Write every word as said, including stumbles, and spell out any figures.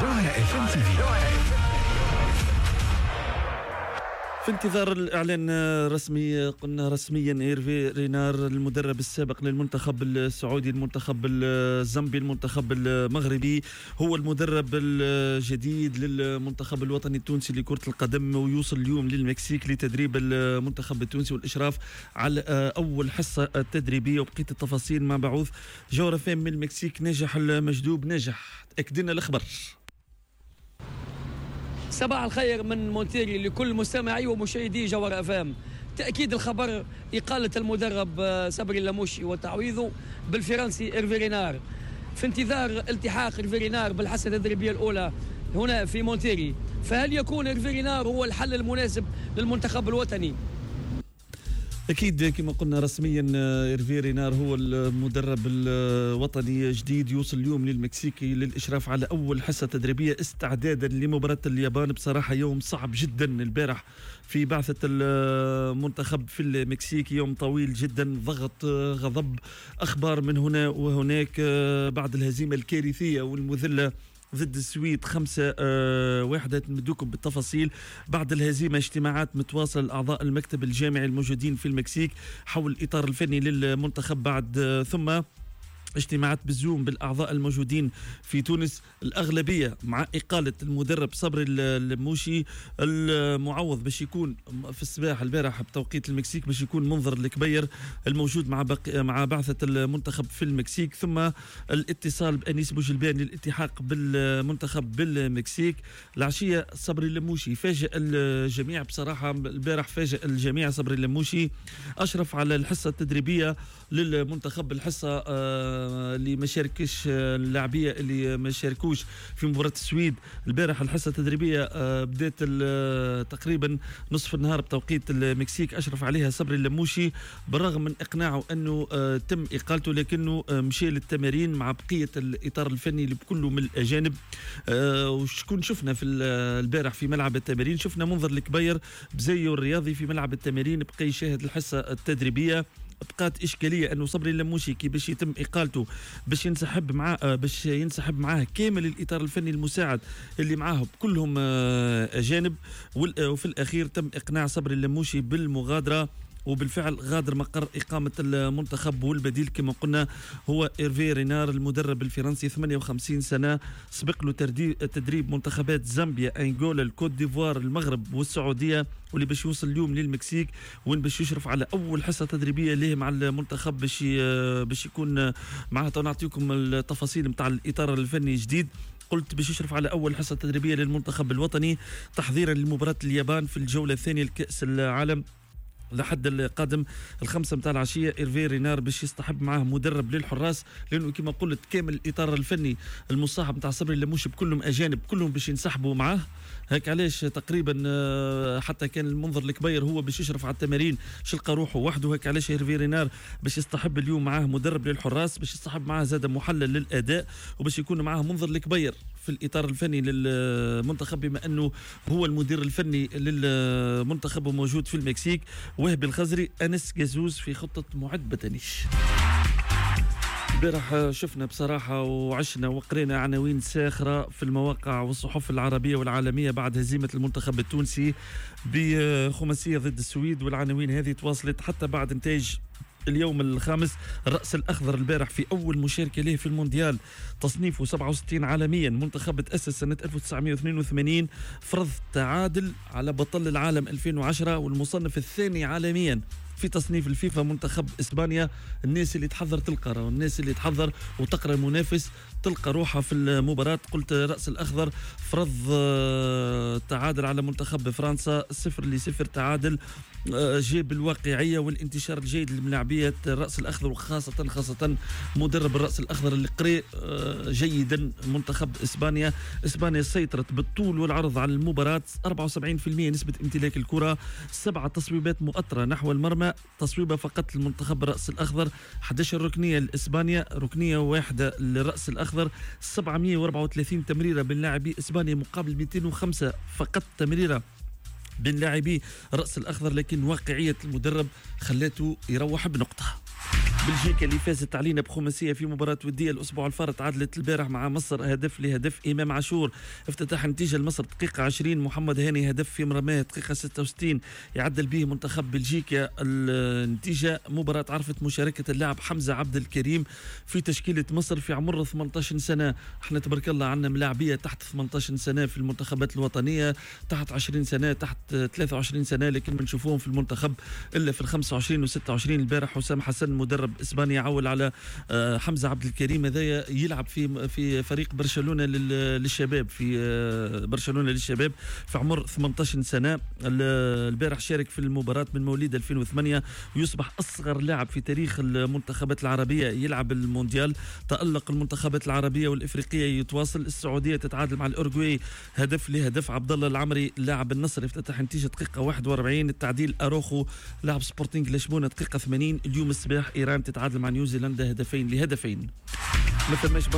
جوهرة اف ام تي في. في انتظار الإعلان الرسمي، قلنا رسميا إيرفي رينار المدرب السابق للمنتخب السعودي، المنتخب الزامبي، المنتخب المغربي، هو المدرب الجديد للمنتخب الوطني التونسي لكرة القدم، ويوصل اليوم للمكسيك لتدريب المنتخب التونسي والإشراف على أول حصة تدريبية. وبقية التفاصيل مع بعوث جوهرة فام من المكسيك ناجح المجدوب. ناجح، تأكدنا الأخبار. صباح الخير من مونتيري لكل مستمعي ومشاهدي جوهرة اف ام. تأكيد الخبر إقالة المدرب صبري اللموشي وتعويضه بالفرنسي إيرفي رينار، في انتظار التحاق إيرفي رينار بالحصة التدريبية الأولى هنا في مونتيري. فهل يكون إيرفي رينار هو الحل المناسب للمنتخب الوطني؟ أكيد كما قلنا رسميا إيرفي رينار هو المدرب الوطني الجديد، يوصل اليوم للمكسيكي للإشراف على أول حصة تدريبية استعدادا لمباراة اليابان. بصراحة يوم صعب جدا البارح في بعثة المنتخب في المكسيك، يوم طويل جدا، ضغط، غضب، أخبار من هنا وهناك بعد الهزيمة الكارثية والمذلة ضد السويد خمسة أه واحدة. نمدوكم بالتفاصيل بعد الهزيمة. اجتماعات متواصل أعضاء المكتب الجامعي الموجودين في المكسيك حول الإطار الفني للمنتخب بعد، ثم اجتماعات بالزوم بالأعضاء الموجودين في تونس، الأغلبية مع إقالة المدرب صبري اللموشي. المعوض باش يكون في الصباح البارح بتوقيت المكسيك باش يكون منظر الكبير الموجود مع بق... مع بعثة المنتخب في المكسيك، ثم الاتصال بأنيس بوجلبان للالتحاق بالمنتخب بالمكسيك. العشية صبري اللموشي فاجئ الجميع بصراحة البارح، فاجئ الجميع صبري اللموشي، أشرف على الحصة التدريبية للمنتخب، الحصة آه اللي ما شاركش اللاعبيه اللي ما شاركوش في مباراة السويد البارح. الحصة التدريبية بدات تقريبا نصف النهار بتوقيت المكسيك، اشرف عليها صبري اللموشي بالرغم من اقناعه انه تم اقالته، لكنه مشى للتمارين مع بقية الاطار الفني اللي بكله من الاجانب. وشكون شفنا في البارح في ملعب التمارين؟ شفنا منظر الكبير بزيه الرياضي في ملعب التمارين، بقى يشاهد الحصة التدريبية. بقات إشكالية أنه صبري اللموشي كي باش يتم إقالته باش ينسحب مع باش ينسحب معاه كامل الإطار الفني المساعد اللي معاه كلهم أجانب، وفي الأخير تم إقناع صبري اللموشي بالمغادرة، وبالفعل غادر مقر إقامة المنتخب. والبديل كما قلنا هو إيرفي رينار المدرب الفرنسي، ثمانية وخمسين سنة، سبق له تدريب منتخبات زامبيا، أنغولا، الكوت ديفوار، المغرب والسعودية، واللي باش يوصل اليوم للمكسيك وين باش يشرف على أول حصة تدريبية له مع المنتخب باش باش يكون معاه. نعطيكم التفاصيل نتاع الإطار الفني الجديد. قلت باش يشرف على أول حصة تدريبية للمنتخب الوطني تحضيرا لمباراة اليابان في الجولة الثانية لكأس العالم لحد القادم الخمسة متاع العشية. إيرفي رينار باش يصطحب معاه مدرب للحراس، لأنه كما قلت كامل الإطار الفني المصاحب متاع صبري اللموشي بكلهم أجانب، كلهم باش ينسحبوا معاه. هيك علاش تقريبا حتى كان المنظر الكبير هو باش يشرف على التمارين شلقى روحه وحده. هيك علاش إيرفي رينار باش يصطحب اليوم معاه مدرب للحراس، باش يصطحب معاه زاد محلل للأداء، وباش يكون معاه منظر الكبير في الإطار الفني للمنتخب بما أنه هو المدير الفني للمنتخب وموجود في المكسيك. وهبي الخزري، أنس جازوز في خطة معد بدنيش. البارح شفنا بصراحة وعشنا وقرينا عناوين ساخرة في المواقع والصحف العربية والعالمية بعد هزيمة المنتخب التونسي بخماسية ضد السويد، والعناوين هذه تواصلت حتى بعد نتائج اليوم الخامس. الرأس الأخضر البارح في أول مشاركة له في المونديال، تصنيفه سبعة وستين عالميا، منتخب تأسس سنة ألف وتسعمائة واثنين وثمانين، فرض تعادل على بطل العالم ألفين وعشرة والمصنف الثاني عالميا في تصنيف الفيفا منتخب إسبانيا. الناس اللي تحضر تلقى، الناس اللي تحضر وتقرأ المنافس تلقى روحها في المباراة. قلت رأس الأخضر فرض تعادل على منتخب فرنسا صفر لصفر، تعادل جاب الواقعية والانتشار الجيد للملاعبية الرأس الأخضر، وخاصة خاصة مدرب الرأس الأخضر اللي قري جيدا منتخب إسبانيا. إسبانيا سيطرت بالطول والعرض على المباراة، أربعة وسبعين بالمئة نسبة امتلاك الكرة، سبعة تصويبات مؤطرة نحو المرمى، تصويبة فقط للمنتخب الرأس الأخضر، أحد عشر ركنية لإسبانيا، ركنية واحدة للرأس الأخضر، سبعمائة وأربعة وثلاثين تمريرة بين لاعبي إسبانيا مقابل مئتين وخمسة فقط تمريرة بين لاعبي الرأس الأخضر، لكن واقعية المدرب خلاته يروح بنقطة. بلجيكا اللي فازت علينا بخماسيه في مباراة وديه الاسبوع الفارط تعادلت البارح مع مصر هدف لهدف. امام عاشور افتتح النتيجة لمصر دقيقة عشرين، محمد هاني هدف في مرماه دقيقة ستة وستين يعدل به منتخب بلجيكا النتيجة. مباراة عرفت مشاركة اللاعب حمزة عبد الكريم في تشكيله مصر في عمر ثمانية عشر سنة. احنا تبارك الله عندنا ملاعبيه تحت ثمانية عشر سنة في المنتخبات الوطنية، تحت عشرين سنة، تحت ثلاثة وعشرين سنة، لكن ما نشوفوهم في المنتخب الا في ال خمسة وعشرين و ستة وعشرين. البارح حسام حسن مدرب اسبانيا عول على حمزة عبد الكريم، هذايا يلعب في في فريق برشلونة للشباب، في برشلونة للشباب في عمر ثمانية عشر سنة. البارح شارك في المباراة من مواليد ألفين وثمانية ويصبح اصغر لاعب في تاريخ المنتخبات العربية يلعب المونديال. تألق المنتخبات العربية والافريقيه يتواصل، السعودية تتعادل مع الاورجواي هدف لهدف. عبد الله العمري لاعب النصر افتتح نتيجة دقيقة واحد وأربعين، التعديل اروخو لاعب سبورتينغ لشبونه دقيقة ثمانين. اليوم الصباح ايران تتعادل مع نيوزيلندا هدفين لهدفين. ما ثماش برشا.